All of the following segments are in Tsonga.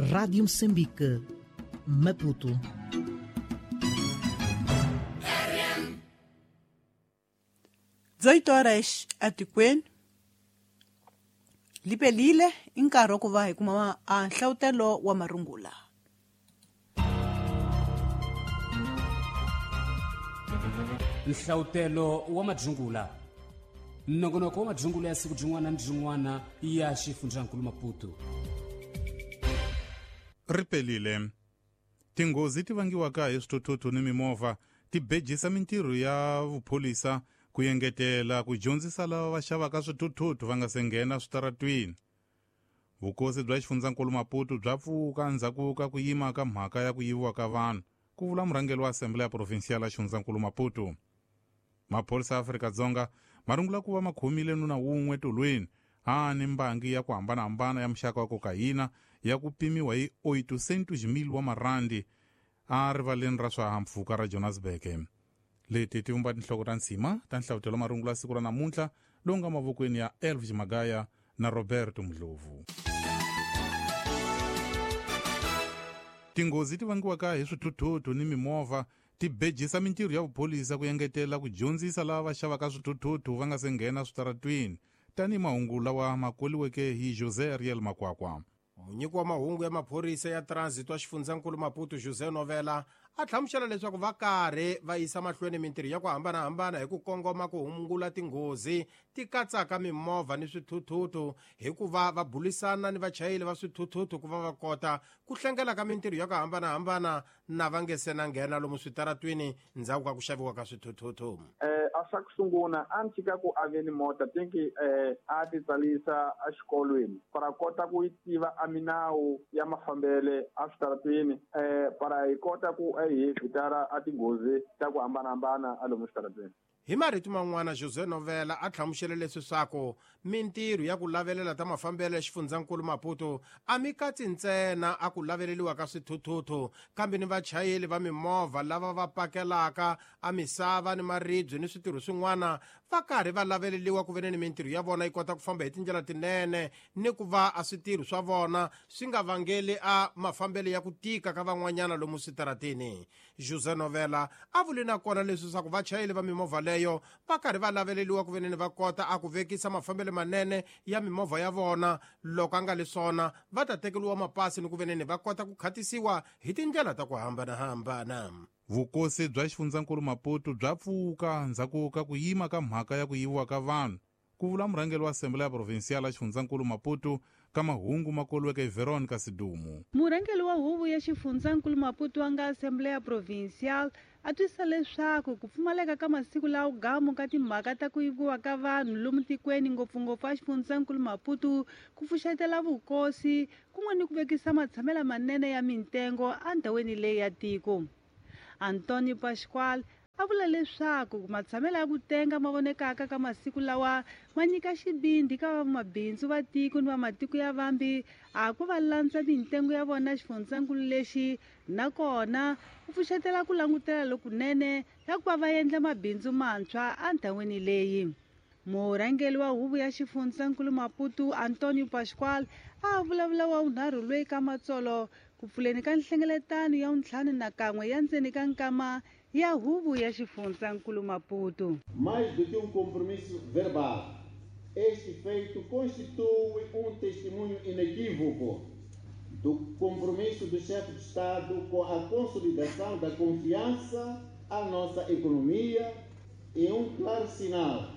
Rádio Moçambique, Maputo. 18 horas etikweni lipelile i nkarhi wa ku va hi kuma a nhlawutelo wa marungula. Nhlawutelo wa madzungula, nongonoko wa madzungula ya siku byin'wana ni byin'wana ya xifundzankulu Maputo. Ripelile. Tinghozi ti vangiwaka hi swithuthuthu ni mimovha ti bejisa mintirho ya vupholisa ku engetela ku dyondzisa lava va xavaka swithuthuthu va nga se nghena switaratwini. Vukosi bya xifundzankulu Maputo bya pfuka endzhaku ka ku yima ka mhaka ya ku yiviwa ka vanhu, ku vula murhangeri wa Assembleya Provincial ya xifundzankulu Maputo. Maphorisa ya Afrika-Dzonga ma rungula ku va ma khomile nuna wun'we tolweni a ni mbangi ya ku hambanahambana ya muxaka wa kokayina ya ku pimiwa hi 800,000 wa marandi a rivaleni ra swihahampfhuka ra Johannesburg. Leti ti vumba tinhloko ta nsima ta nhlavutelo marungula siku ra namuntlha lowu nga mavokweni ya Elvis Magaya na Roberto Mdlovu. Tinghozi ti vangiwaka hi swithuthuthu ni mimovha ti bejisa mintirho ya vupholisa ku engetela ku dyondzisa lava va xavaka swithuthuthu va nga se nghena switaratwini, tanihi mahungu lawa ma koliweke hi José Ariel Makwakwa. Munyiki wa mahungu ya maphorisa ya transit wa xifundzankulu Maputo, José Novela, a hlamusela leswaku va karhi va yisa mahlweni mintirho ya ku hambanahambana hi ku kongoma ku hungula tinghozi ti katsaka mimovha ni swithuthuthu, hikuva va bulisana ni vachayeri va swithuthuthu ku va va kota ku hlengela ka mintirho ya ku hambanahambana na va nge se na nghena lomu switaratwini ndzhaku ka ku xaviwa ka swithuthuthu. A swa ku sungula a ni tshika ku a ve ni mota tinki a ti tsalisa exikolweni para kota ku yi tiva a minawu ya mafambele a switaratwini, para hi kota ku hi evitara a tinghozi ta ku hambanahambana a lomu switaratwini. Hi marito man'wana, José Novela a hlamusele leswi swaku mintirho ya ku lavelela ta mafambelo ya xifundzankulu Maputo a mi katsi ntsena a ku laveleliwa ka swithuthuthu, kambe ni vachayeri va mimovha lava va pakelaka a misava ni maribye ni switirho swin'wana va karhi va laveleliwa ku ve ni mintirho ya vona yi kota ku famba hi tindlela tinene ni ku va a switirho swa vona swi nga vangeli a mafambelo ya ku tika ka van'wanyana lomu switarateni. José Novela a vule na kona leswi swa ku vachayeri va mimovha leyo va karhi va laveleliwa ku ve ni va kota a ku vekisa mafambelo manene ya mimovha ya vona, loko a nga le swona va ta tekeriwa mapasi ni ku ve ni va kota ku khatisiwa hi tindlela ta ku hambanahambana. Vukosi bya xifundzankulu Maputo bya pfuka ndzhaku ka ku yima ka mhaka ya ku yiviwa ka vanhu, ku vula murhangeri wa Assembleya Provincial ya xifundzankulu Maputo ka mahungu ma koliweke hi Veronica Sidumo. Murhangeri wa huvo ya xifundzankulu Maputo wa nga Assembleya Provincial a twisisa leswaku ku pfumaleka ka masiku lawa gamu ka timhaka ta ku yiviwa ka vanhu lomu tikweni, ngopfungopfu a xifundzankulu Maputo, ku pfuxetela vukosi kun'we ni ku vekisa matshamelo manene ya mintengo endhawini leyi ya tiko. Antonio Pascual a vula leswaku matshamelo ya ku tenga ma vonekaka ka masiku lawa ma nyika xivindzi ka vamabindzu va tiko ni va matiko ya vambi a ku va landza mintengo ya vona xifundzankulu lexi, nakona ku pfuxetela ku langutela lokunene ya ku va va endla mabindzu mantshwa endhawini leyi. Murhangeri wa huvo ya xifundzankulu Maputo, Antonio Pascual, a vulavula wa vunharhu loyi ka matsolo ku pfuleni ka nhlengeletano ya 51 ya ndzeni ka nkama ya huvo ya xifundzankulu Maputo. Mais do que um compromisso verbal, este feito constitui um testemunho inequívoco do compromisso do chefe de Estado com a consolidação da confiança à nossa economia e um claro sinal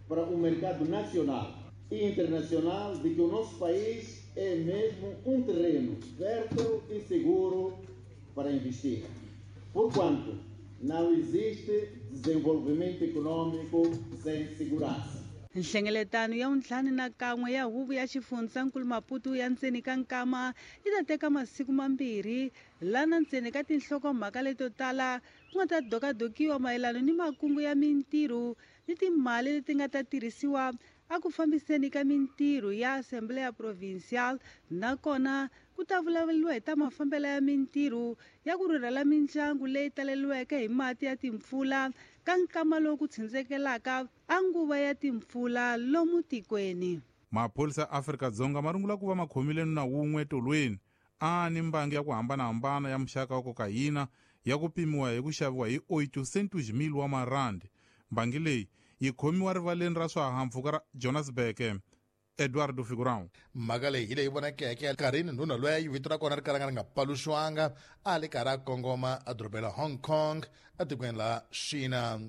para o mercado nacional e internacional de que o nosso país é mesmo um terreno fértil e seguro para investir. Porquanto não existe desenvolvimento econômico sem segurança. Nhlengeletano ya 51 ya huvo ya xifundzankulu Maputo ya ndzeni ka nkama yi ta teka masiku mambirhi, lana ndzeni ka tinhlokomhaka leto tala ku nga ta dokadokiwa mayelana ni makungu ya mintirho ni timali leti nga ta tirhisiwa a ku fambiseni ka mintirho ya Assembleya Provincial, nakona ku ta vulavuriwa hi ta mafambelo ya mintirho ya ku rhurhela mindyangu leyi taleriweke hi mati ya timpfula ka nkama lowu ku tshindzekelaka a nguva ya timpfula lomu tikweni. Maphorisa ya Afrika-Dzonga ma rungula ku va ma khomile nuna wun'we tolweni A ni mbangi ya ku hambanahambana ya muxaka wa kokayina ya ku pimiwa hi ku xaviwa hi 800,000 wa marandi. Mbangi leyi yi khomiwa rivaleni ra swihahampfhuka ra Johannesburg. Eduardo Figurão. Mhaka leyi hi leyi vonakeke nkarhini ndhuna loyi vito ra kona ri kalanga ri nga paluxiwanga a li karhi a kongoma edorobeni ra Hong Kong etikweni la China.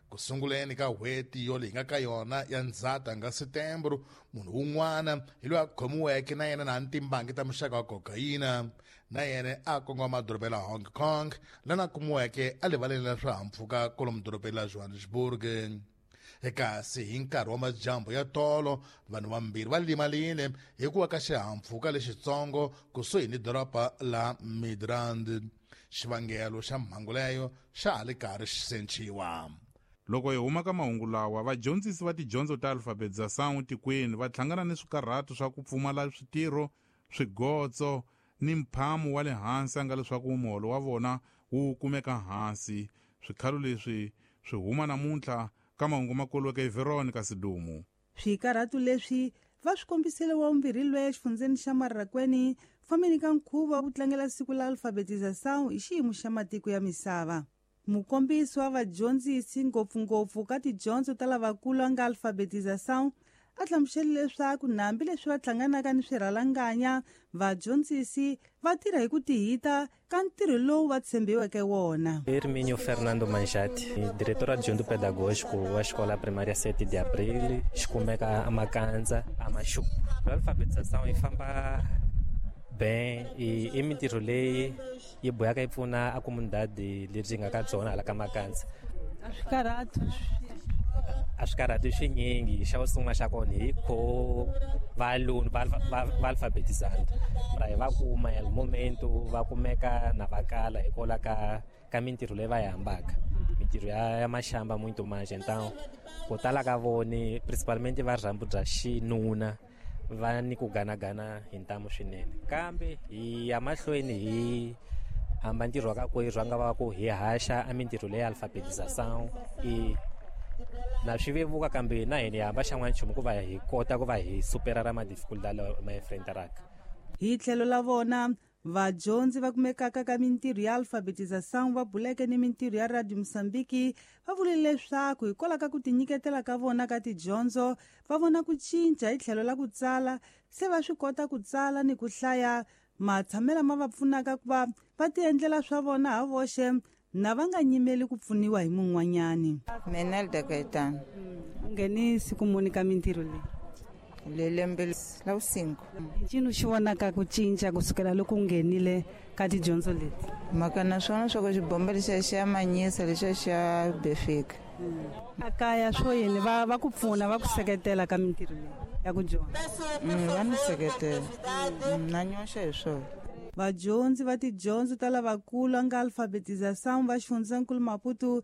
Ku sunguleni ka n'hweti yo leyi nga ka yona ya Ndzhati nga Setembro, munhu wun'wana hi loyi a khomiweke na yena na timbangi ta muxaka wa kokayina na yena a kongoma edorobeni ra Hong Kong lana kumiweke erivaleni ra swihahampfhuka kwalomu dorobeni ra Johannesburg. Kasi hi nkarhi wa madyambu ya tolo vanhu vambirhi va limalile hi ku wa ka xihahampfhuka lexitsongo kusuhi ni doroba la Midrand. Xivangelo xa mhangu leyo xa ha li karhi xi sechiwa. Loko hi huma ka mahungu lawa, vadyondzisi va tidyondzo ta alfabetização tikweni va hlangana ni swikarhato swa ku pfumala switirho, swigotso ni mphamu wa le hansi a nga leswaku muholo wa vona wu kumeka hansi. Swikhalo leswi swi huma namuntlha ka mahungu makoloke hi Veronica Sidumo. Swikarhato leswi va swi kombisile wa vumbirhi loyi exifundzeni xa Marrakweni fambeni ka nkhuvo wa ku tlangela siku la alfabetização hi xiyimo xa matiko ya misava. Mukombisi wa vadyondzisi ngopfungopfu ka tidyondzo ta lavakulu a nga alfabetização a hlamusele leswaku nambi leswi va hlanganaka ni swirhalanganya, vadyondzisi va tirha hi ku tihita ka ntirho lowu va tshembiweke wona. Hermínio Fernando Manjati, diretor adjunto pedagógico wa Escola Primária 7 de Abril, xikumeka a Makanza, a Machupo. A alfabetização yi famba bem i mintirho leyi yi boyaka yi pfuna a comunidade leri nga ka byona hala ka Makanza. A swi karhati? A swi karhati swinyingi. Xa sungula xa kona hi kho valuni va alfabetizando mara hi va kuma el momento va kumeka na va kala hikwalaho ka mintirho leyi va yi hambaka, mintirho ya maxamba muito mais. Então ku tala ka voni, principalmente va rhambu bya xinuna, va ni ku ganagana hi ntamu swinene, kambe hi ya mahlweni hi hamba ntirho wa ka kwerhu a nga va ku hi haxa a mintirho leyi alfabetização i na swi vevuka, kambe na hina hi hamba xan'wana nchumu ku va hi kota ku va hi supera ra madificultad lawa ma enfrentaraka. Hi tlhelo la vona, vadyondzi va kumekaka ka mintirho ya alfabetização va buleke ni mintirho ya Radio Mosambiki va vule leswaku hikwalaho ka ku tinyiketela ka vona ka tidyondzo va vona ku cinca hi tlhelo la ku tsala, se va swi kota ku tsala ni ku hlaya, matshamelo ma va pfunaka ku va va tiendlela swa vona ha voxe na va nga nyimeli ku pfuniwa hi mun'wanyani. Menelda Gaetano. U ngheni siku muni ka mintirho leyi? Le lembe la vucinco. Ncini xi vonaka ku cinca kusukela loko u nghenile ka tidyondzo leti? Mhaka na swona swa ku xibomba lexiya xi ya manyisa, lexiya xa befika. A kaya swo yini, va ku pfuna, va ku seketela ka mintirho leyi ya ku dyondza? Va ni seketela, na nyoxa hi swona. Vadyondzi va tidyondzo ta lavakulu a nga alfabetização va xifundzankulu Maputo.